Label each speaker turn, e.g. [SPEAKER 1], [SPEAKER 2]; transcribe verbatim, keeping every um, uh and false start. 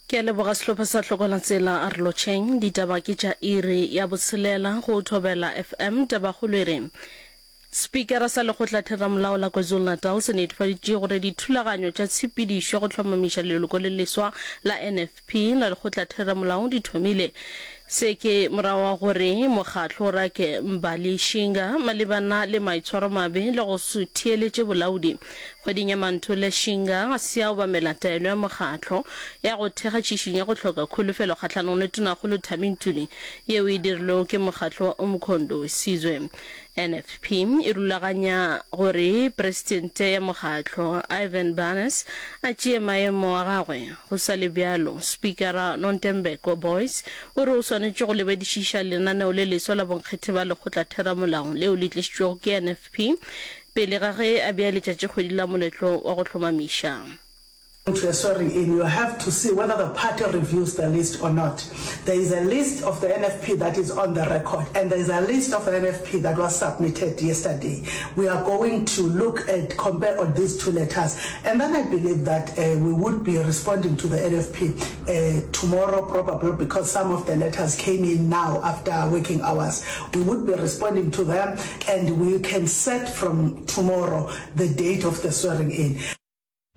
[SPEAKER 1] Ke a leboga sehlopha sa Hlokola Tsela a re lotšheng. Ditaba ke tša iri ya botshelela go Thobela F M. Tabakgolo e re Spikara sa Lekgotlatheramolao la KwaZulu-Natal se netefaditše gore dithulaganyo tša tshepedišo ya go hlomamiša leloko le leswa la N F P la Lekgotlatheramolao di thomile. Se ke morago ga gore mokgatlo o rake Mbali Shinga malebana le maitshwaromabe le go se theeletše bolaodi. Kgweding ya Manthole, Shinga ga se a obamela taelo ya mokgatlo ya go thekga tšhišinyo ya go hloka kholofelo kgahlanong le Tonakgolo Thami Ntuli yeo e dirilwego ke mokgatlo wa Umkhonto weSizwe. N F P e rulaganya gore presidente ya mokgatlo Ivan Barnes a tšee maemo a gagwe. Go sa le bjalo, Spikara Nontembeko Boyce o re o swanetše go lebedišiša lenaneo le leswa la bonkgethe ba lekgotlatheramolao leo le tlišitšwego ke N F P pele ga ge a bea letšatšikgwedi la moletlo wa go hlomamiša.
[SPEAKER 2] To a swearing in, you have to see whether the party reviews the list or not. There is a list of the N F P that is on the record, and there is a list of the N F P that was submitted yesterday. We are going to look at, compare on these two letters, and then I believe that uh, we would be responding to the N F P uh, tomorrow probably, because some of the letters came in now after working hours. We would be responding to them, and we can set from tomorrow the date of the swearing in.